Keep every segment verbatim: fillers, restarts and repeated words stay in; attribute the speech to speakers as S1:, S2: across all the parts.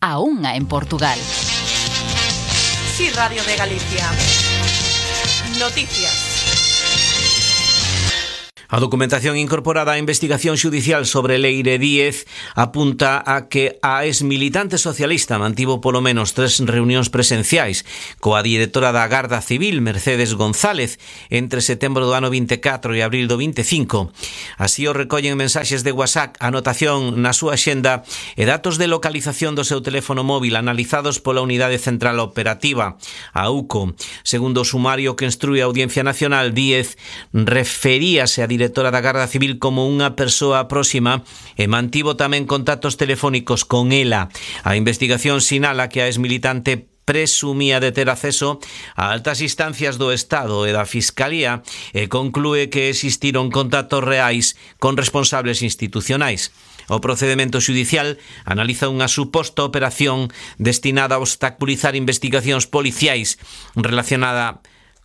S1: a unha en Portugal.
S2: Sí, Radio de Galicia. Noticias.
S3: A documentación incorporada á investigación xudicial sobre Leire Díez apunta a que a exmilitante socialista mantivo polo menos tres reunións presenciais coa directora da Garda Civil, Mercedes González, entre setembro do ano vinte e catro e abril do vinte e cinco. Así o recollen mensaxes de WhatsApp, anotación na súa xenda e datos de localización do seu teléfono móvil analizados pola Unidade Central Operativa, a U C O. Segundo o sumario que instrúe a Audiencia Nacional, Díez referíase a directora da Garda Civil como unha persoa próxima e mantivo tamén contactos telefónicos con ela. A investigación sinala que a exmilitante presumía de ter acceso a altas instancias do Estado e da Fiscalía e conclúe que existiron contactos reais con responsables institucionais. O procedemento xudicial analiza unha suposta operación destinada a obstaculizar investigacións policiais relacionada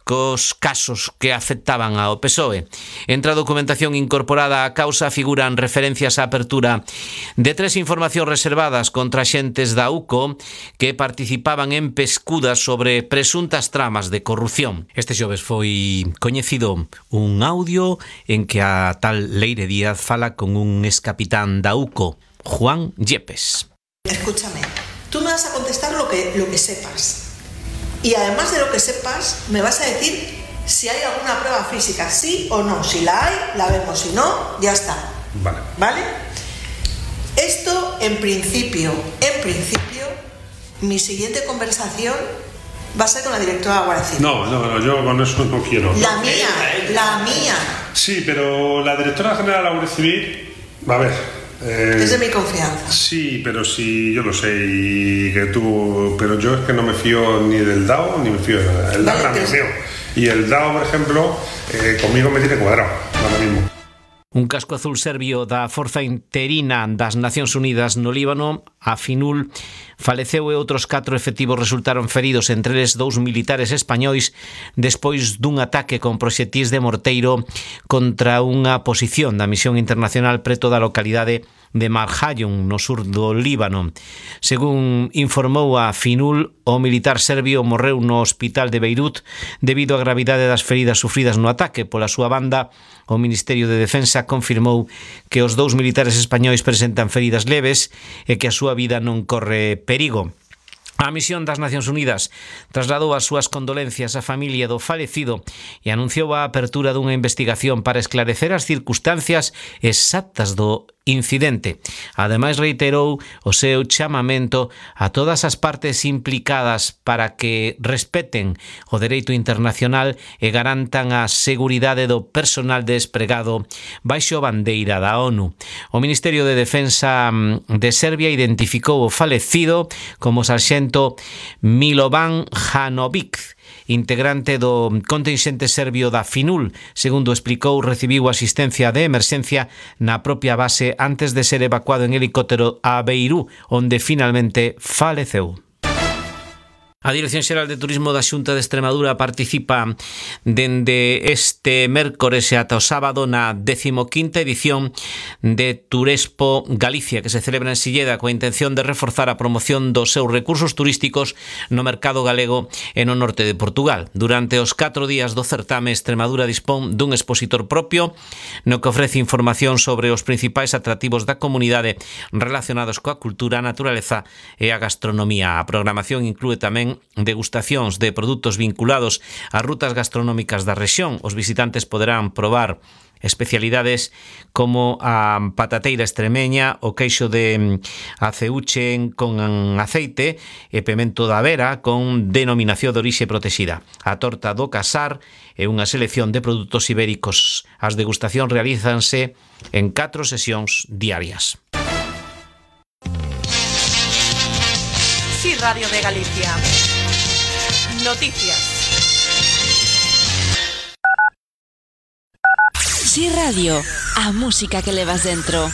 S3: cos casos que afectaban ao P S O E. Entre a documentación incorporada á causa figuran referencias á apertura de tres informacións reservadas contra xentes da U C O que participaban en pescudas sobre presuntas tramas de corrupción. Este xoves foi coñecido un audio en que a tal Leire Díaz fala con un excapitán da U C O, Juan Yepes.
S4: Escúchame, tú me vas a contestar lo que, lo que sepas. Y además de lo que sepas, me vas a decir si hay alguna prueba física, sí o no. Si la hay, la vemos. Si no, ya está.
S5: Vale.
S4: ¿Vale? Esto, en principio, en principio, mi siguiente conversación va a ser con la directora de Guardia Civil.
S5: No, no, no, yo con eso no quiero.
S4: La mía, la mía.
S5: Sí, pero la directora general de la Guardia Civil, a ver... Eh,
S4: es de mi confianza.
S5: Sí, pero sí, yo lo sé y que tú, pero yo es que no me fío ni del D A O ni me fío de nada. El
S4: vale,
S5: D A O
S4: pero...
S5: me fío. Y el D A O, por ejemplo, eh, conmigo me tiene cuadrado, ahora mismo.
S3: Un casco azul serbio da Forza Interina das Nacións Unidas no Líbano, a Finul, faleceu e outros catro efectivos resultaron feridos, entre eles dous militares españois, despois dun ataque con proxetís de morteiro contra unha posición da misión internacional preto da localidade de Marjayun, no sur do Líbano. Según informou a Finul, o militar serbio morreu no hospital de Beirut debido á gravidade das feridas sufridas no ataque. Pola súa banda, o Ministerio de Defensa confirmou que os dous militares españois presentan feridas leves e que a súa vida non corre perigo. A misión das Nacións Unidas trasladou as súas condolencias á familia do falecido e anunciou a apertura dunha investigación para esclarecer as circunstancias exactas do incidente. Ademais, reiterou o seu chamamento a todas as partes implicadas para que respeten o dereito internacional e garantan a seguridade do personal despregado baixo a bandeira da ONU. O Ministerio de Defensa de Serbia identificou o falecido como sarxento Milovan Janovic, integrante do contingente serbio da Finul. Segundo explicou, recibiu asistencia de emerxencia na propia base antes de ser evacuado en helicóptero a Beirut, onde finalmente faleceu. A Dirección Xeral de Turismo da Xunta de Extremadura participa dende este mércores e ata o sábado na decimoquinta edición de Turespo Galicia, que se celebra en Silleda coa intención de reforzar a promoción dos seus recursos turísticos no mercado galego e no norte de Portugal. Durante os catro días do certame, Extremadura dispón dun expositor propio no que ofrece información sobre os principais atractivos da comunidade relacionados coa cultura, a naturaleza e a gastronomía. A programación inclúe tamén degustacións de produtos vinculados ás rutas gastronómicas da rexión. Os visitantes poderán probar especialidades como a patateira extremeña, o queixo de aceuche con aceite e pemento da vera con denominación de orixe protexida. A torta do casar e unha selección de produtos ibéricos. As degustacións realízanse en catro sesións diarias.
S2: Sí, Radio de Galicia. Noticias.
S1: Sí Radio, a música que levas dentro.